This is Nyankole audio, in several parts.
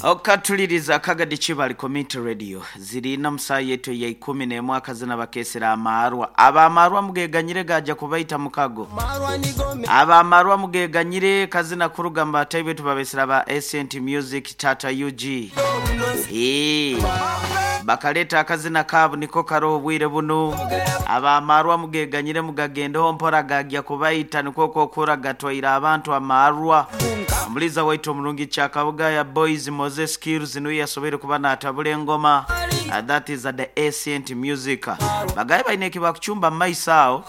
Okatuliriza Kagadi Kibali Community Radio ziri ina mu saaha yaitu eya ikumi n'emwe akazina bakeesera amaarwa. Ab'amaarwa mugeganyire gaaja kubaita mukago. Ab'amaarwa mugeganyire kazina kuruga mu bataahi baitu babesera ba Ancient Music Tata UG. Eeh bakaleeta akazina kaabu niko karoho obwire bunu. Ab'amaarwa mugeganyire mugagendeho mpora gaagya kubaita nikwo okwokuhura gatwaire abantu amaarwa. Omuliiza waitu omurungi Kyakabugaya Boys Moze Skills niwe yasoboire kuba natabura engoma that is the Ancient Music. Bagaye baine ekibakucumba mumaiso aho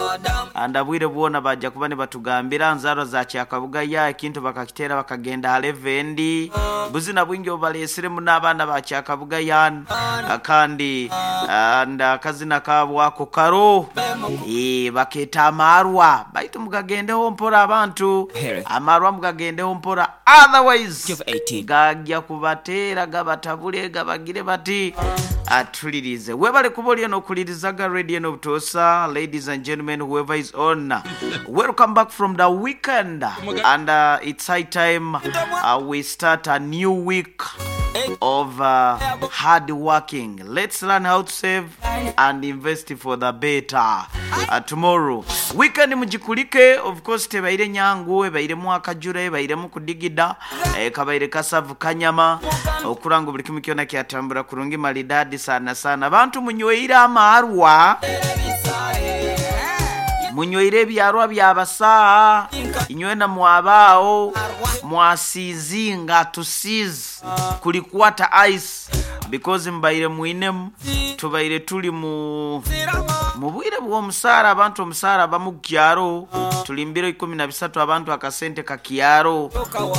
and obwire bwona baja kuba nibatugambira nzarwa za Kyakabugaya ekintu bakakitera bakagenda ha level endi. Buzina bwingi obubalesire muno abaana ba Kyakabugaya kandi and akazina kaabo ako karo baketa amaarwa baitu mugagendeho mpora abantu. Amarwa mugagendeho mpora otherwise gagya kubateera gabatabule gabagire bati atulirize. Webale kuba oliyo nokulirizaga radio eno obutoosa ladies and gentlemen whoever is on welcome back from the weekend and it's high time we start a new week of hard working let's learn how to save and invest for the better tomorrow. Weekend mugikulike, of course tebaire nyangu, ebairemu akajura, ebairemu kudigida, kabaire kasavu kanyama, okura ngu buli kimu kyona kyatambura kurungi maridadi sana sana. Abantu munyweire amaarwa, munyweire ebyarwa byabasaa, inywena mwaba agho mwasiizinga to seize kulikwata ice. Because mubaire mwinemu, tubaire tuli mu mu bwire bw'omusaara abantu omusaara abamu kukyaro, tuli mu biro 13 abantu akasente kakyaro,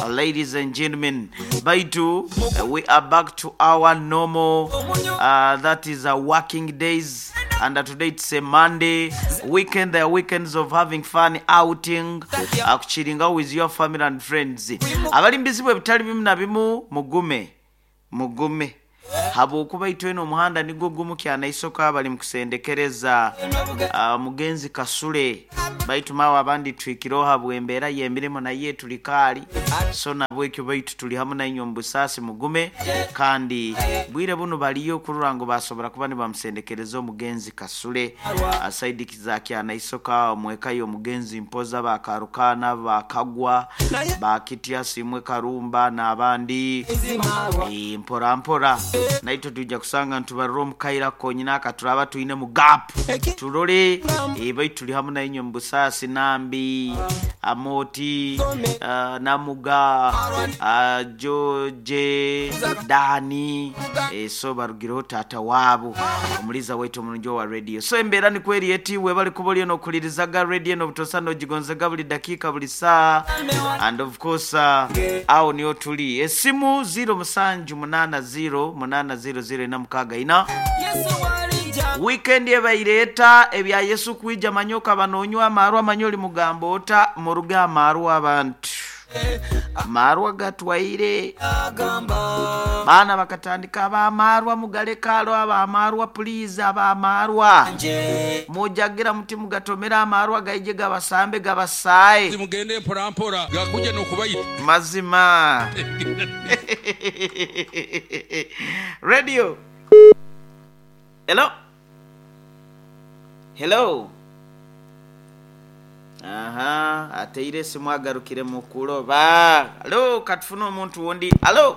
ladies and gentlemen. Baitu we are back to our normal that is working days and today it's a Monday, weekend there are weekends of having fun, outing, kuchiringawo with your family and friends. Abali mu bizibu ebitali bimu na bimu mugume. Mugume, habwokuba itwena omuhanda nigwo gumu Kyanaisoka bali mu kusendekereza omugenzi Kasule. Baitu maawe abandi tuhikireho habw'embeera y'emirimo naye tuli kaali. So nabwekyo baitu tuli hamu nainywe omu busaasi mugume kandi bwire bunu baliyo kurora ngu basobora kuba nibamusendekereza omugenzi Kasule. Saidi za Kyanaisoka omu eka y'omugenzi Mpoza, ba Karukaana, ba Kagwa, ba Kitya, Simwe Karumba n'abandi. Mpora mpora naitwe twija kusanga nitubarura omu kaire ako konyini aka turaaba twinemu gaapu turore. Baitu turi hamu nainywe omu busaasi Nambi, Amooti, Namuga, George, Dani, so barugireho taata waabo omuliiza waitu omurungi owa rediyo. So embeera nikwo eri eti, webale kuba oriyo nokuhuririzaga rediyo eno obutosa nogigonzega buri dakiika buri saaha and of course aho niho turi. Esimu ziiro musanju munaana ziiro munaana ziiro ziiro ina mukaaga ina. Weekend ebaire eta ebya Yesu kwija manya okaba nonywa amaarwa manya ori mugamba ota muruge aha maarwa abantu. Amaarwa gatwaire. Baana bakatandika ab'amaarwa mugareke aro ab'amaarwa puliizi ab'amaarwa. Mujagira muti mugatomere amaarwa gaije gabasambe gabasaaye. Mugende mpora mpora gakugye n'okubaita. Mazima. Radio. Hello. Hello. Aha, ateire esimu agarukire mu kuloba. Halo, katufune omuntu wundi. Halo.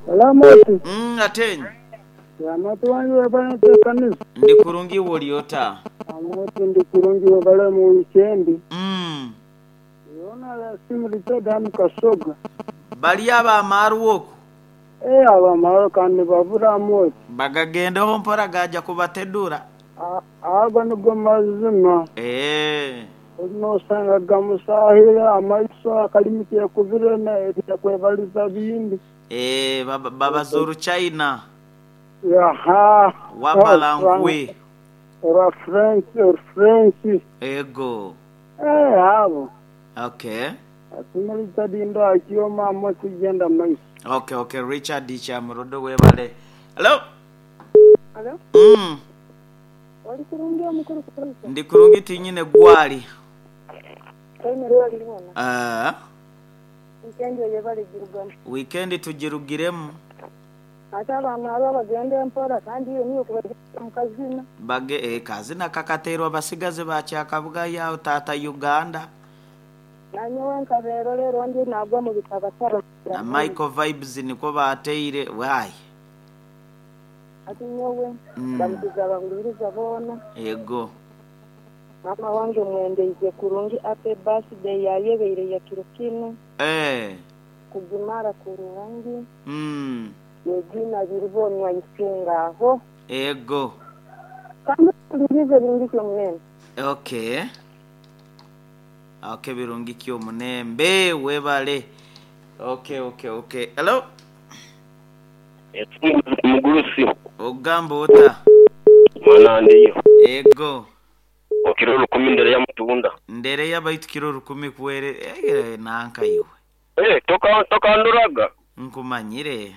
Hello Moti. Atenyi. Ya Moti wange webale ntekanisa. Ndi kurungi iwe oli ota? Moti ndi kurungi webale mu wikendi. Yona la simu Richard hanu Kasoga. Bali ab'amaarwa oku? Ee ab'amaarwa kandi nibabura Moti. Bagagendeho mpora gaaja kubatedura. Ago nigo mazima. Eeh. Nosanga gamusahire amaiso akalimi kekubire nakwebaliza bindi. Eeh babaza oruchaina. Aha. Wabala nkwe. Orwa French, Orufrench. Ego. Eeh abo. Okay. Asiima Richard Ndwakio maama tugenda maiso. Okay okay Richard Kyamurodo webale. Hello. Halo. Oli kurungi omukuru Kutoiza? Ndi kurungi tinyine gwali. Toine rwali rwona. Aah. Weekend oyebare girugamu. Weekend tugirugiremu. Ate abamwaba bagende mpora kandi iwe niiwe kubagyenda omu kazina. Bage eh kazina kakateerwa basigazi ba Kyakabugayi aho taata Uganda. Nanyowe nkabeera ole era ondi nagwa omu bitabataba. Na Michael Vibes nikwo baateire why. Hati nyowe ndamukize abahuliriza boona. Ego. Maama wange mwendeize kurungi happy birthday yayebeire yakiro kinu. Eeh. Kugimara kurungi. Mm. Regina Biribonwa Isinga aho. Ego. Kandi ohulirize birungi ki omunembe. Okay. Okay birungi ki omunembe webale. Okay okay okay. Hello. Omugurusi. Ogamba ota? Mwana ndiyo. Ego. Okiro olukumi Ndereya mutunda. Ndereya baitu kiro olukumi kuwere eh, nanka iwe. Eh, toka tokanduraga. Nkumanyire.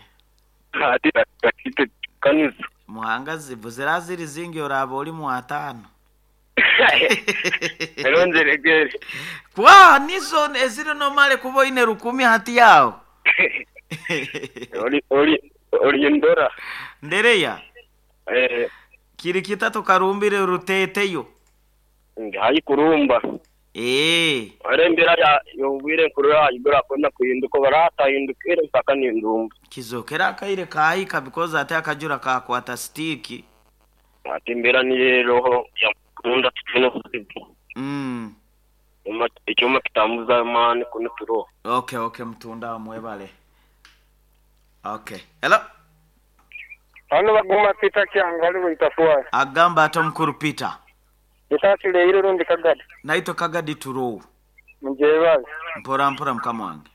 Ati ati kanisa. Muhanga zibu zira ziri zingi oraaba oli mu ataano. Ero nziregere. Kwa nizo eziri nomale kuba oine rukumi hati aho. Oli oli oli ndora. Ndereya. Eh. Kiri kita tukarumbire ruteteyo. Ndi haihi kurumba. Eeh. Ore embeera ya y'obwire nkurora ahaiguru akwenda kuhinduka obu mpaka nindumba. Kizokera akaire kaahika because ate akajura kaakwata sitiiki. Hati embeera niyo eroho ya mutunda titwine buzibu. Mm. Ekyoma kitambuza amaani kunu turoho. Okay okay mutunda awo mwebale. Okay. Hello. Hano Baguma Peter Kyangu ali Bwitafuari. Agamba ata omukuru Peter? Etakireire rundi Kagadi. Naitwe Kagadi turowo. Mugyebaze. Mpora mpora mukama wange.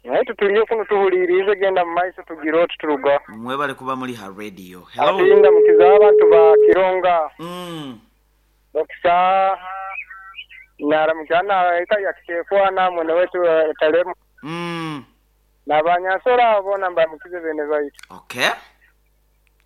Naitwe turiyo kunu tuhuriiriize genda mu maiso tugire oti turugaho. Mwebale kuba muri ha radio. Hello. Ati ndamukize abantu ba Kironga. Mm. Dokita naramukya na eka ya Kitefu na mwene wetu Talemu. Mm. Na banyansoro abo boona mbamukize beene baitu. Okay.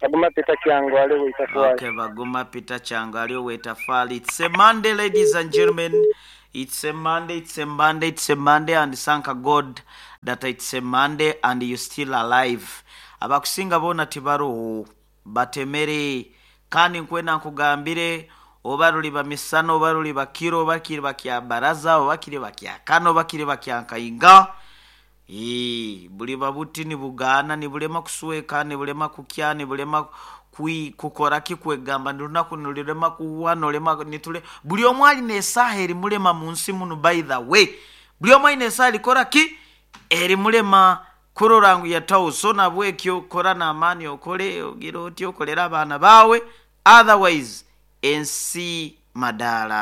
Baguma Peter Kyangu ali ow'eitafaali. Okay, Baguma Peter Kyangu ali ow'eitafaali. It's a Monday, ladies and gentlemen. It's a Monday, it's a Monday, it's a Monday, and thank God that it's a Monday and you still alive. Abakusinga boona tibaroho, batemere. Kandi nkwenda nkugambire, oba ruriba misana, oba ruriba kiro, oba kiriba kya baraza, oba kiriba kya kana, oba kiriba kya nkainga, Eeh, buriba buti nibugaana, niburema kusweka, niburema kukya, niburema kwi, kukora ki, kwegamba ni runaku nirurema kuhwa, norema, niture, buri omwe aine esaaha erimurema mu nsi munu by the way. Buri omwe aine esaaha erikora ki? Erimurema kurora ngu yataho. So nabwekyo kora n'amaani okore, ogire oti okorere abaana baawe, otherwise ensi madaara.